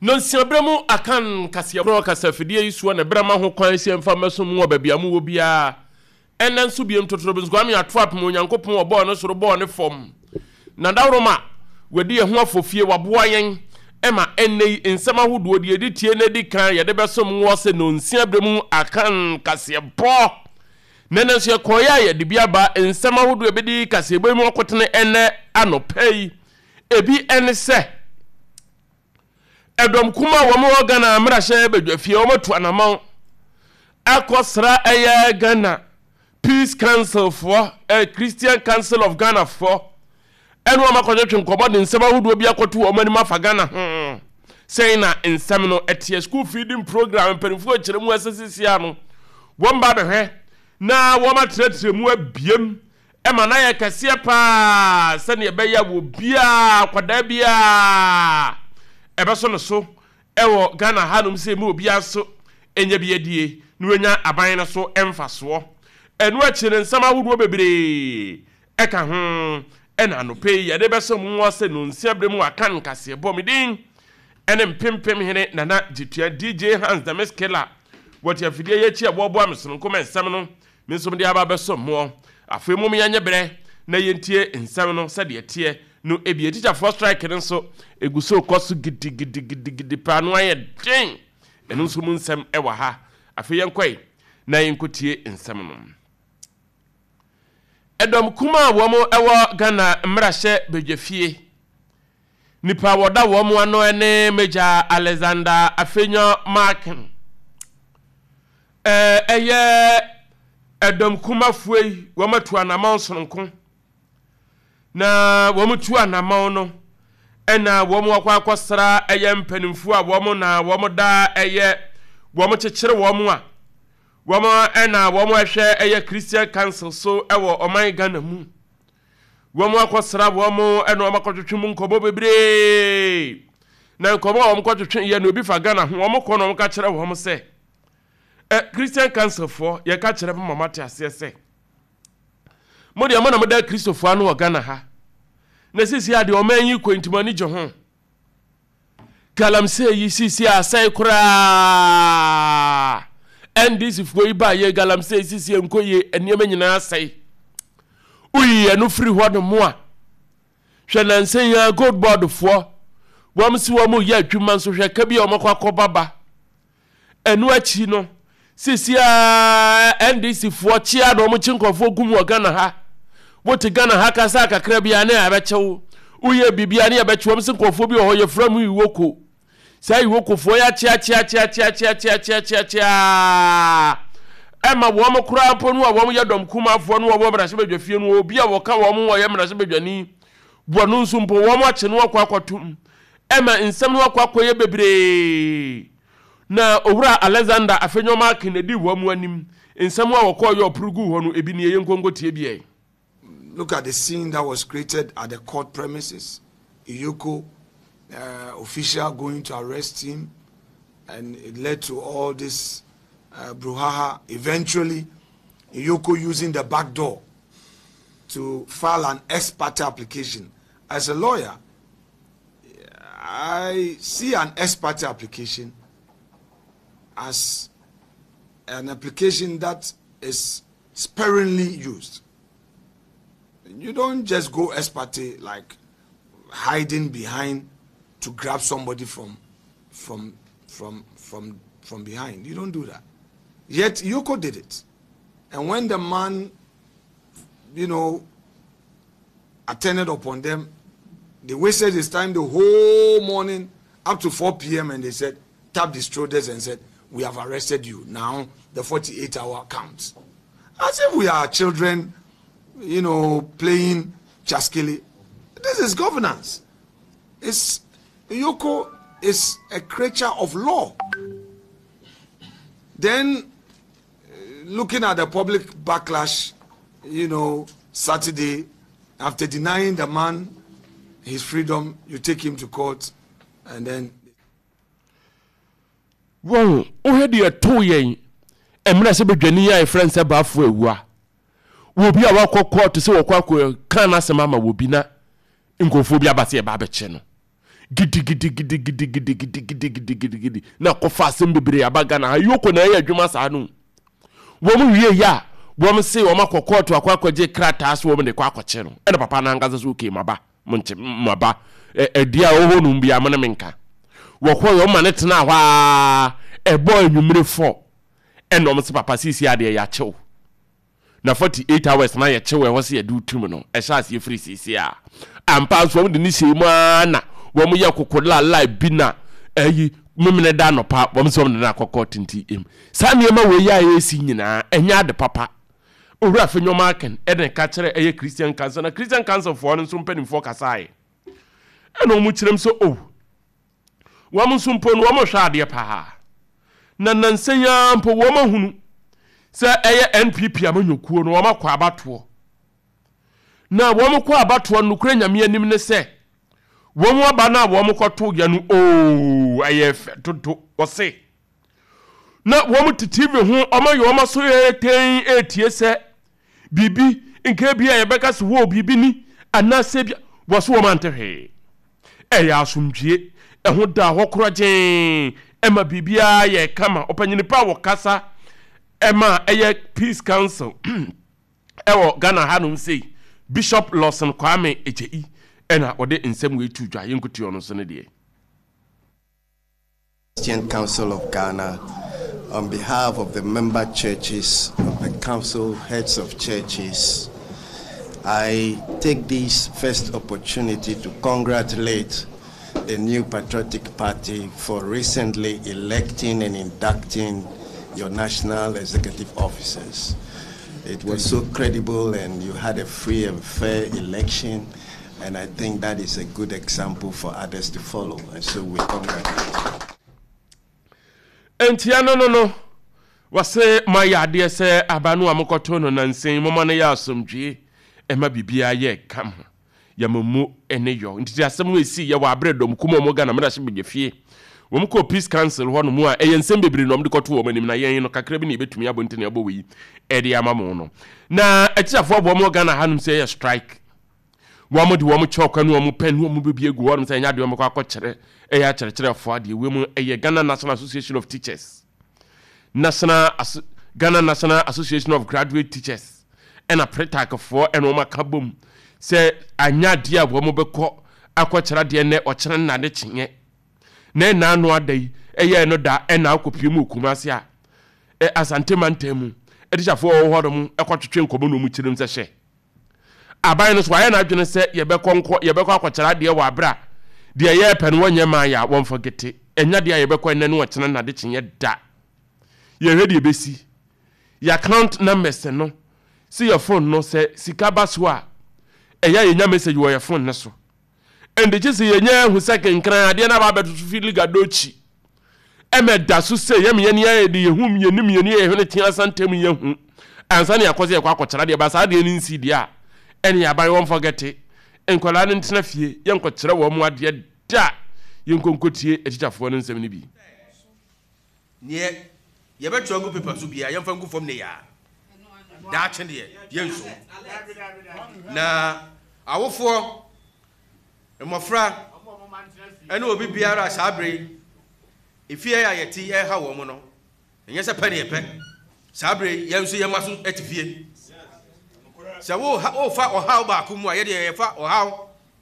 Nonsia berɛ mu Akan kaseɛbɔ kasafidie yi soɔ na ɛberɛ ma ho kwan sɛ yɛmfa mmɛsom mo wɔ baabi a mowɔ biara. Ɛnnɛ nso biom Totorobinso Kwame ato apem Onyankopɔn ɔbɔɔ ne soro bɔɔ ne fam. N'adaworoma wadi yɛn ho afofie, waboa yɛn ma ɛnnɛ yi nsɛm ahodoɔ deɛ ɛdi tie na ɛdi kan yɛde bɛsom woɔ sɛ nonsia berɛ mu Akan kaseɛbɔ. Na ɛnnɛ nso yɛkɔeɛ a yɛde bi aba nsɛm ahodoɔ ɛbɛdi kaseɛbɔ yi mu akotene ɛnnɛ anɔpa yi. Ebi ne sɛ. Ɛdɔm kumaa a wɔn wɔ Ghana mmarahyɛ badwafie wɔn atu anamɔn akɔsra ɛyɛ Ghana Peace Council foɔ, eh, Christian Council of Ghana foɔ ɛne wɔn akɔtwetwe nkɔmmɔ de nsɛm ahodoɔ bi akɔto wɔn anim afa Ghana ho. Sɛn na nsɛm no ɛteɛ? School feeding program mpanimfoɔ kyerɛ mu ɛsɛ sisia no wɔn ba bɛhwɛ na wɔn atrɛtrɛ mu abiem Ɛma no ayɛ kɛseɛ pa ara sɛdeɛ ɛbɛyɛ a obiara, akwadaa biara, ɛbɛsɔ ne so wɔ Ghana hanom sɛ mu obiara nso nya bi adie na wanya aban no so mfasoɔ. Ɛno akyi no nsɛm ahodoɔ bebree ɛka ho ɛna anɔpa yi yɛde bɛsɔ mu sɛ nonsia berɛ mu Akan nkaseɛbɔ. Me din ɛne Mpempem Hene Nana Gyetua DJ Hans the Miss Killer wɔte afidie yi akyi a wɔboa me sononko ma nsɛm no Me nso mede aba abɛsom moɔ. Afei mom yɛnyɛ berɛ na yɛntie nsɛm no sɛdeɛ ɛteɛ no ebia. Tikyafoɔ strike no nso ɛgu so rekɔ so gidigidigidigidi paa, ano ayɛ den. Ɛno nso mu nsɛm wɔ ha. Afei yɛnkɔe na yɛnkɔtie nsɛm no. Ɛdɔm kumaa a wɔn wɔ Ghana mmarahyɛ badwafie, nipa a wɔda wɔn ano ne Major Alexander Afenyo Markin. Ɛyɛ ɛdɔm kumafoɔ yi, wɔatu anamɔn sononko. Na wɔtu anamɔn no, ɛna wɔn akɔ akɔsra ɛyɛ mpanimfoɔ a wɔn na wɔn da ɛyɛ wɔn kyekyere wɔn a wɔn ɛna wɔn ɛhwɛ ɛyɛ Christian Council so ɛwɔ ɔman Ghana mu. Wɔn akɔsra wɔn ɛna wɔn akɔtwetwe mu nkɔmɔ bebree. Na nkɔmɔ a wɔn kɔtwetwe yɛ no obi fa Ghana ho, wɔn kɔ na wɔn ka kyerɛ wɔn sɛ Ɛ Christian Council foɔ, yɛka kyerɛ mo ma moate aseɛ sɛ, mo deɛ mo na moda Kristofoɔ ano wɔ Ghana ha, na seesei a deɛ ɔman yi kɔ nti mo ani gye ho. Galamsey yi seesei asɛe koraa. NDC foɔ yi baa yɛ galamsey seesei nkɔ yie, nneɛma nyinaa asɛe. Woyi ɛno firi hɔ nom a, hwɛ nansa yi ara gold board foɔ, wɔn se wɔn reyɛ adwuma nso hwɛ ka bi a wɔn akɔ akɔba ba. Ɛno akyi no, seesei ara NDC foɔ kyea na wɔn kye nkurɔfoɔ gu mu wɔ Ghana ha. Wote Ghana ha kasa kakra bi a ne yɛabɛkyɛ wo. Woyɛ biribi a ne yɛbɛkye wɔn sɛ nkurɔfoɔ bi wɔ hɔ yɛfrɛ mu Iwoko. Saa Iwoko foɔ yi akyeakyeakyeakyeakyeakyeakyeaa ɛma wɔn koraa mpo no a wɔn yɛ dɔm kumafoɔ no wɔwɔ mmarahyɛbadwafie no obi a wɔka wɔn ho wɔyɛ mmarahyɛbadwani wɔ no nso mpo wɔn akye no akɔ akɔtom ɛma nsɛm no akɔ akɔyɛ bebree. Na Owura Alexander Afenyo-Markin na edii wɔn anim. Nsɛm a wɔkɔɔ yɛ ɔporo guu hɔ no, ebi nie, yɛnkɔ nkɔtie bi ɛ. Look at the scene that was created at the court premises. EOCO uh, official going to arrest him, and it led to all this uh, brouhaha. Eventually, EOCO using the back door to file an ex parte application. As a lawyer, I see an ex parte application as an application that is sparingly used. You don't just go ex parte like hiding behind to grab somebody from from from from from behind. You don't do that. Yet Yoko did it. And when the man, you know, attended upon them, they wasted his time the whole morning up to 4 p.m. and they said, tapped his shoulders and said, We have arrested you. Now the 48 hour counts. As if we are children, you know, playing chaskili. This is governance. It's Yoko is a creature of law. Then, looking at the public backlash, you know, Saturday, after denying the man his freedom, you take him to court and then. Wɔn, wohwɛ deɛ ɛtoo yɛn mmerɛ sɛ badwani a yɛfrɛ no sɛ Bafo Awua, wɔ bi a wakɔ kɔɔto sɛ wɔkɔ akɔ ka n'asɛm ama wɔ bi na nkurɔfoɔ bi aba sɛ yɛba abɛkyɛ no. Gidigidigidigidigidigidigidi na kɔfa asɛm bebree aba Ghana ha. Yoko na ɛyɛ adwuma saa no. Wɔn wie yɛ a, wɔn se wɔn akɔ kɔɔto akɔ akɔgye krataa so wɔn de kɔ akɔkye no. Ɛna papa no ankasa so okay maba, monkye maba. Ɛdeɛ a ɛwɔ hɔ nom biara mo ne me nka. Wɔkɔɔ yɛ wɔn ma no tenaa hɔ ara ɛbɔɔ anwummere fɔ. Ɛna wɔn se papa seesei adeɛ yɛakye wo. Na 48 hours na yɛkye wo ɛhɔ sɛ yɛde wo tum no ɛhyɛ aseɛ firi seesei a. Ampa nso wɔn de no hyɛɛ mu ara na wɔn yɛ koko lalai bi na ɛyi memene da anɔpa wɔn sɛ wɔn de no akɔ court nti em. Saa nneɛma wei a ɛresi nyinaa ɛnyɛ ade papa. Owura Afenyo Markin ɛna ɛka kyerɛ ɛyɛ Christian Council na Christian Council foɔ no nso mpanimfoɔ kasaeɛ ɛna wɔn kyerɛm sɛ oh Wɔn nso mpo no, wɔhwɛ adeɛ paa. Na nnansa yi ara mpo wɔahunu sɛ ɛyɛ NPP amanyɔkuo no, wɔakɔ abatoɔ. Na wɔkɔ abatoɔ no, nokorɛ Nyame anim ne sɛ, wɔn aba no a wɔkɔtoeɛ no, oo, ɛyɛ fɛ dodo, wɔse. Na wɔn te TV ho, wɔayɛ wɔn aso tɛnn retie sɛ biribi, nka ebia yɛbɛka sɛ wɔ biribi ni, anaasɛ bia, wɔse wɔn ante hwee. Ɛyɛ asomdwie, ɛho da hɔ korɔgyee, ɛma biribiara yɛ kama. Ɔpanyini pa a wɔkasa ɛma ɛyɛ Peace Council ɛwɔ Ghana hanom sei, Bishop Lawson Kwame Egyei ɛna ɔde nsɛm wei too dwa. Yɛnkotie ɔno nso ne deɛ. Christian Council of Ghana, on behalf of the member churches of the council, heads of churches, I take this first opportunity to congratulate the New Patriotic Party for recently electing and inducting your national executive officers. It was so credible and you had a free and fair election. And I think that is a good example for others to follow. And so we congratulate you. Ntia no no no, wɔse moayɛ adeɛ sɛ aba no a mokɔtoo no nansa yi, moma no yɛ asomdwoe, ɛma biribiara yɛ kama, yɛma mu ne yɔ. Nti asɛm no ɛsii yɛ wɔ aberɛ dɔm kum wɔn Ghana mmarahyɛ badwafie. Wɔn kɔɔ Peace Council hɔ nom a ɛyɛ nsɛm bebree na wɔn de kɔtoo wɔn anim na yɛn no kakra bi na yɛbɛtumi abɔ nti na yɛabɔ wei ɛde ama mo no. Na atikyafoɔ aboa wɔn wɔ Ghana hanom sɛ ɛyɛ strike. Wɔn de wɔn chalk ne wɔn pen ne wɔn biribi agu hɔnom sɛ ɛnyɛ adeɛ wɔbɛkɔ akɔkyerɛ ɛyɛ akyerɛkyerɛfoɔ adeɛ. Wei mu ɛyɛ Ghana National Association of Teachers, National Aso Ghana National Association of Graduate Teachers ɛna Pretacfoɔ ɛna wɔn aka bom sɛ anyɛ adeɛ a wɔn bɛkɔ akɔkyerɛ adeɛ nnɛ ɔkyena nna ne kyenyɛ na ɛna ano ada yi ɛyɛ ɛno da ɛna akɔpie mu wɔ Kumasi a ɛ Asante mantam mu atikyafoɔ a wɔwɔ hɔnom ɛkɔtwetwe nkɔmmɔ na wɔn kyerɛ mu sɛ hyɛ Aban no so wayɛ n'adwene sɛ yɛbɛkɔ nkɔ yɛbɛkɔ akɔkyerɛ adeɛ wɔ aberɛ a deɛ yɛrepɛ no wɔnyɛ mmaa yɛ a wɔmfa gete. Ɛnyɛ adeɛ a yɛbɛkɔ ɛnnɛ ne ɔkyena nnadekyeeɛ da. Yɛhwɛ deɛ ɛbɛsi. Yɛ account numbers no sɛ yɛ phone no sɛ sika ba so a ɛyɛ a yɛnya message wɔ yɛ phone no so. Ɛnde gye sɛ yɛnya ahu sɛ kenkran adeɛ no aba abɛto so fi Liga Dochi. Ɛma ɛda so sɛ yɛn yɛn yɛ de yɛhu yɛnim yɛn yɛ hwene tea asa ntam yɛhu ansa ne akɔ sɛ yɛkɔ akɔkyerɛ adeɛ ba saa adeɛ no nsi deɛ a ɛne aban wɔn fɔgɛte nkwadaa no ntena fie yɛnkɔkyerɛ wɔn mu adeɛ da yɛnkɔnkɔtie atikyafoɔ no nsɛm no bi. Neɛ yɛbɛtwerɛ agu paper so biara yɛmfa ngu fam ne yaa. Daakye deɛ yɛnsom. Na awofoɔ, mmɔfra ne obi biara a saa berɛ yi efie a yɛte yi ɛreha wɔn no, ɛnyɛ sɛ pɛ ne yɛpɛ. Saa berɛ yi yɛn nso yɛn mma so te fie. Sɛ wofa ɔhaw baako mu a, yɛdeɛ yɛfa ɔhaw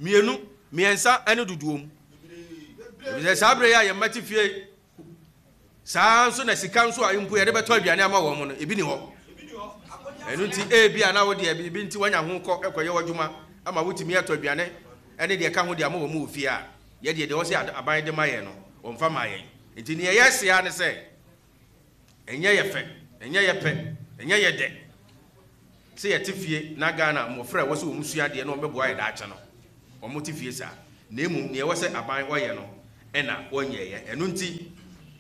mmienu, mmiɛnsa ne dodoɔ mu. Efisɛ saa berɛ yi a yɛn mma te fie Saa ara nso na sika nso a mpo yɛde bɛtɔ aduane ama wɔn no, ebi nni hɔ. Ɛno nti, ebia na wo deɛ biribi nti woanya ho kɔ kɔyɛ w'adwuma ama wotumi atɔ aduane ne deɛ ɛka ho de ama wɔn wɔ fie a, yɛn deɛ, deɛ ɛwɔ sɛ aban de ma yɛn no, wɔmfa mmaa yɛn. Enti nea yɛse ara ne sɛ, ɛnyɛ yɛ fɛ, ɛnyɛ yɛ pɛ, ɛnyɛ yɛ dɛ sɛ yɛte fie na Ghana mmɔfra a ɛwɔ sɛ wɔsua adeɛ na wɔbɛboa yɛn daakye no, wɔte fie saa, na mmom nea ɛwɔ sɛ aban ɔyɛ no na wɔnyɛeɛ. Ɛno nti,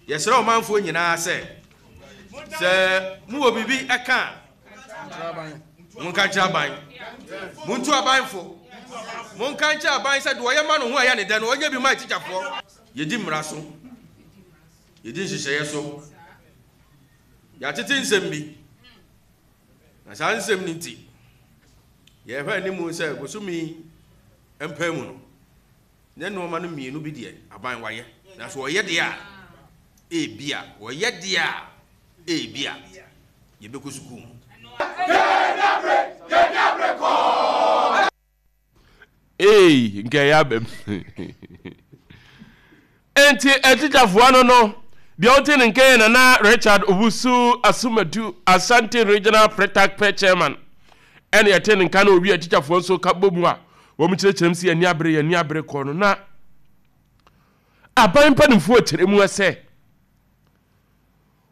yɛsrɛ ɔmanfoɔ nyinaa sɛ, sɛ mowɔ biribi ka a, monka nkyerɛ aban. Montu aban fo. Monka nkyerɛ aban sɛ deɛ ɔyɛ ma no ho a ɛyɛ ne dɛ no, ɔnyɛ bi mma atikyafoɔ. Yɛdi mmara so. Yɛdi nhyehyɛeɛ so. Yɛatete nsɛm bi. Na saa nsɛm no nti, yɛhwɛ anim sɛ bosome yi mpae mu no, Ne nnoɔma no mmienu bi deɛ aban wayɛ, nanso ɔyɛ deɛ a, ebia, ɔyɛ deɛ a, ebia yɛbɛkɔ sukuu mu. Ei, nka ɛyɛ abam. Enti atikyafoɔ no no, deɛ wote ne nka yɛ Nana Richard Owusu Asumadu, Ashanti Regional Pretak Pɛ Chairman. Ɛna yɛte ne nka na owie atikyafoɔ nso ka bɔ mu a wɔn kyerɛkyerɛ mu sɛ yɛn ani abere, yɛn ani abere kɔ no na aban mpanimfoɔ kyerɛ mu sɛ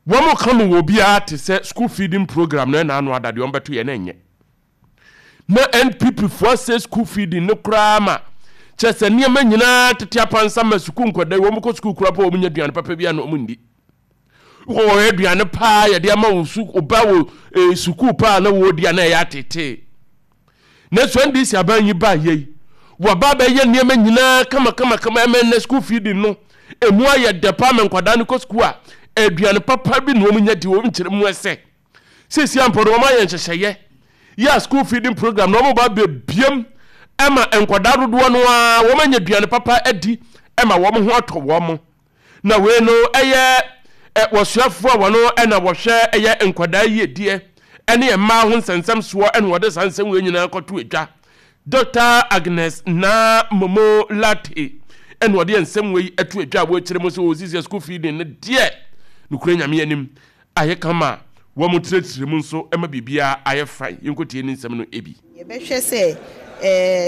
wɔn ka no wɔ obiara te sɛ school feeding program no ɛna ano ada deɛ wɔn bɛto yɛ na ɛnyɛ. Na NPP foɔ asɛe school feeding no koraa ma kyerɛ sɛ nneɛma nyinaa tete apansam ma sukuu nkwadaa yi wɔn kɔ sukuu koraa po wɔn nya aduane papa bi a na wɔn ndi. Wɔ wɔn aduane paa yɛde ama wo su ɔba wɔ eh, sukuu paa na wɔredi a na ɛyɛ atetee. Na so NDC aban yi baa yei wɔaba abɛyɛ nneɛma nyinaa kama kama kama ɛmɛ nnɛ school feeding no emu ayɛ dɛ paa ma nkwadaa no kɔ sukuu a aduane papa bi na wɔn nya di wɔn nkyerɛ mu ɛsɛ. Seesei ara mpo no, wɔayɛ nhyehyɛeɛ yɛ a school feeding program na wɔba abɛbiem ma nkwadaa dodoɔ no ara wɔanya aduane papa adi ma wɔn ho atɔ wɔn. Na wei no ɛyɛ wɔsoafoɔ a wɔn na wɔhwɛ ɛyɛ nkwadaa yiedie ne mmaa ho nsɛnsɛm soɔ na wɔde saa nsɛm wei nyinaa kɔto adwa. Dɔkta Agnes Naa Momo Lartey na ɔde nsɛm wei ato adwa a wɔrekyerɛ mu sɛ wɔsisi school feeding no deɛ nokorɛ Nyame anim ayɛ kama a wɔtrɛtrɛ mu nso ma biribiara ayɛ fine. Yɛnkɔtie ne nsɛm no bi. Yɛbɛhwɛ sɛ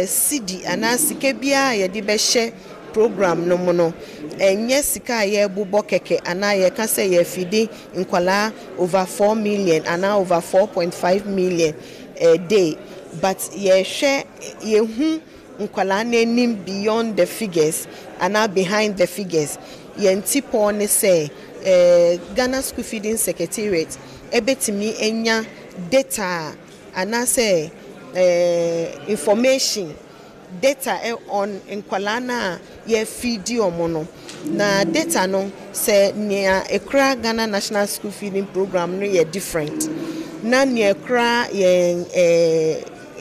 cedi anaa sika biara a yɛde bɛhyɛ program no mu no, ɛnyɛ sika a yɛrebobɔ kɛkɛ anaa yɛreka sɛ yɛrefidi nkwadaa over 4 million anaa over 4.5 million a day, but yɛrehwɛ yɛhu nkwadaa no anim beyond the figures anaa behind the figures. Yɛn tipɔɔ ne sɛ Ghana School Feeding Secretariat ɛbɛtumi anya data anaasɛ information data on nkwadaa no a yɛfeedi wɔn no. Na data no, sɛ nea ekura Ghana National School Feeding Program no yɛ different na nea ekura yɛn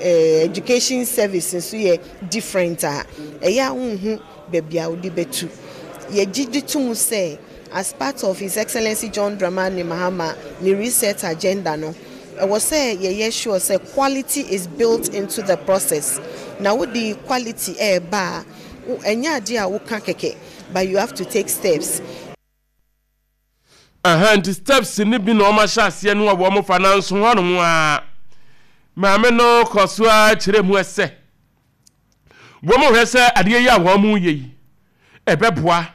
education service nso yɛ different a, ɛyɛ a wonhu baabi a wode bɛtu. Yɛgye di to mu sɛ as part of His Excellency John Dramani Mahama ne reset agenda no, ɛwɔ sɛ yɛyɛ sure sɛ quality is built into the process. Na wode quality ɛɛba a, ɛnyɛ adeɛ a woka kɛkɛ, but you have to take steps. Aha nti steps no bi na wɔn ahyɛ aseɛ no a wɔn fa nanso hɔnom a maame no kɔ so ara kyerɛ mu sɛ wɔn hwɛ sɛ adeɛ yi a wɔn yɛ yi ɛbɛboa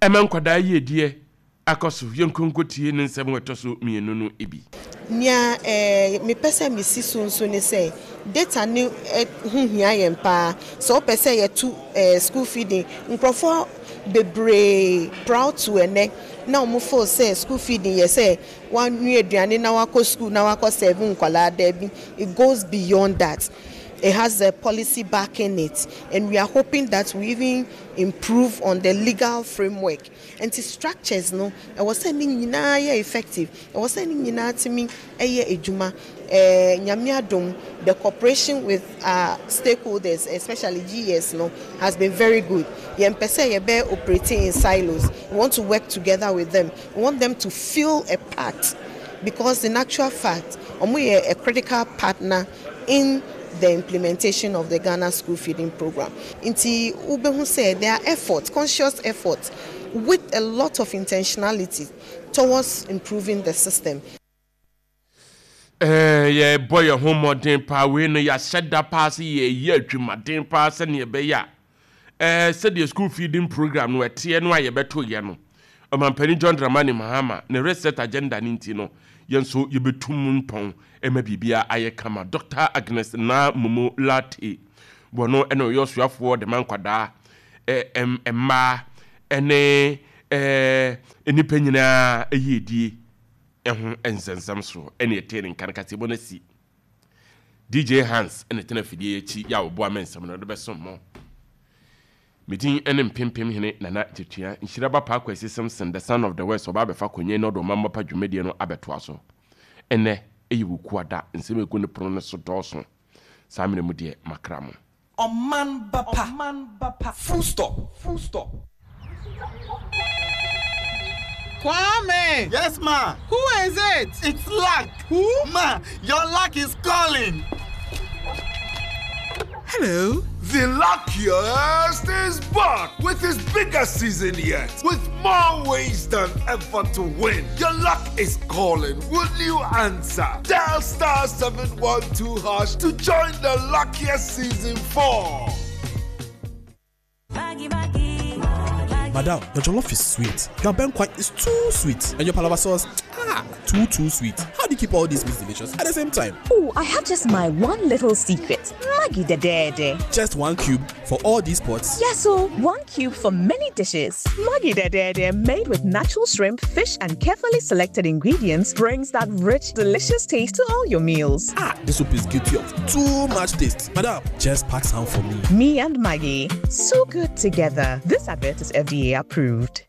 ɛma nkwadaa yiedie akɔ so. Yɛnkɔ nkɔtie ne nsɛm a ɛtɔ so mmienu no bi. Nea mepɛ sɛ mesi so nso ne sɛ data no ho hia yɛn paa. Sɛ wopɛ sɛ yɛto school feeding, nkurɔfoɔ bebree proud to ɛnɛ na wɔn feel sɛ school feeding yɛ sɛ wanoa aduane na wakɔ school na wakɔ serve nkwadaa. Daabi, it goes beyond that. It has a policy backing it, and we are hoping that we even improve on the legal framework. Nti structures no, ɛwɔ sɛ ne nyinaa yɛ effective, ɛwɔ sɛ ne nyinaa tumi yɛ adwuma. Nyame adom, the cooperation with our stakeholders, especially GES no, has been very good. Yɛmpɛ sɛ yɛbɛ operating in silos. We want to work together with them. We want them to feel a part, because in actual fact, ɔmo yɛ a critical partner in the implementation of the Ghana School Feeding Program. Nti wobɛhu sɛ there are efforts, conscious efforts with a lot of intentionality towards improving the system. Yɛbɔ yɛn ho mmɔden paa. Wei no yɛahyɛ da paa sɛ yɛyɛ adwumaden paa sɛnea ɛbɛyɛ a sɛdeɛ school feeding program no ɛteɛ no a yɛbɛto yɛ no, Ɔmampanin John Dramani Mahama ne reset agenda no nti no, yɛn nso yɛbɛtu mu mpɔn ma biribiara ayɛ kama. Dr. Agnes Naa Momo Lartey, wɔno na ɔyɛ ɔsoafoɔ de ma nkwadaa, mmaa ne nnipa nyinaa yiedie ho nsɛnsɛm soɔ ɛne ɛtee ne nka no kaseɛbɔ no asi. DJ Hans na ɛtena afidie yi akyi yɛ a ɔboa me nsɛm no de bɛsom mo. Me din ne Mpempem Hene Nana Gyetua, Nhyira Ba Paa Kwasi Simpson, the son of the West, ɔba abɛfa Konyen na ɔde Ɔmammɔ Pa dwumadie no abɛtoa so. Ɛnnɛ yɛ Wukuada, nsɛm a ɛgu ne pono no so dɔɔso. Saa mmerɛ mu deɛ, makra mo. Ɔman ba pa. Full stop. Full stop. Kwame! Yes, ma. Who is it? It's luck. Who? Ma, your luck is calling. Hello? The luckiest is back with his biggest season yet, with more ways than ever to win. Your luck is calling. Will you answer? Dial star 712 hash to join the luckiest season 4. Madam, your jollof is sweet. Your benquai is too sweet. And your palava sauce, ah, too, too sweet. How do you keep all these meats delicious at the same time? Oh, I have just my one little secret. Maggi Dedede. Just one cube for all these pots? Yes, so one cube for many dishes. Maggi Dedede, made with natural shrimp, fish, and carefully selected ingredients, brings that rich, delicious taste to all your meals. Ah, this soup is guilty of too much taste. Madam, just pack some for me. Me and Maggi, so good together. This advert is FDA approved.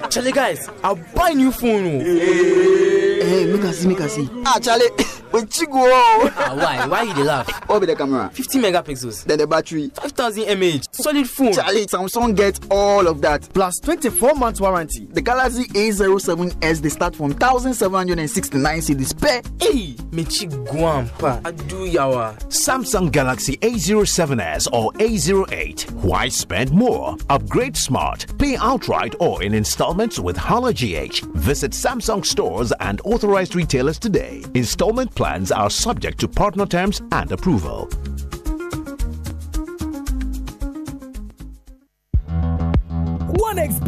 Charlie guys, I'll buy new phone. Hey, hey make I see, make I see. Ah, Charlie, we go. Ah, why? Why you dey laugh? What be the camera? 50 megapixels. Then the battery. 5000 mAh. Solid phone. Charlie, Samsung gets all of that. Plus 24 months warranty. The Galaxy A07s they start from 1769 cedis per. Hey, mechi guampa. Adu yawa. Samsung Galaxy A07s or A08. Why spend more? Upgrade smart. Pay outright or in installments with Hala GH. Visit Samsung stores and authorized retailers today. Installment plans are subject to partner terms and approval.